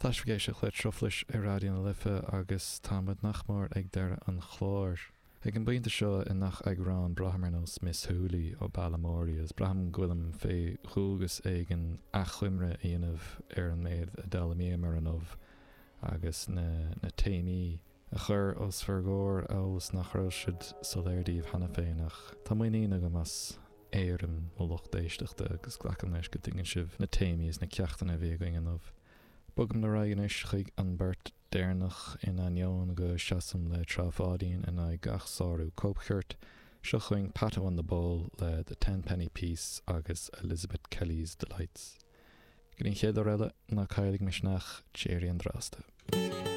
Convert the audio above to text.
Tá sibh ag éisteacht le Truflais ar Raidió na Life agus tá muid nach mór ag deireadh an chláir. Ag an bpointe seo i ngach eagrán braithim ar nós Miss Hooley ó Balamory agus braithim go bhfuilim fé dhualgas éigin achoimre a dhéanamh ar an méid a d'fhoghlaimíomar inniu agus na na téamaí a chur os bhur gcomhair amhail is nach raibh siad soiléir daoibh cheana féin ach tá muinín agam as éirim mo lucht éisteachta agus glacaim leis go dtuigeann sibh na téamaí is na ceachtanna a bhí againn inniu. Bogaim ar aghaidh anois chuig an beart deireanach in ainneoin go seasaim le Trá Pháidín in aghaidh gach sárú cóipchirt. Seo chugainn Patto and the Bull le The Tenpenny Peace agus Elizabeth Kelly's Delights. Go dtí an chéad uair eile, ná cailligí misneach, d'éirigh an drasta.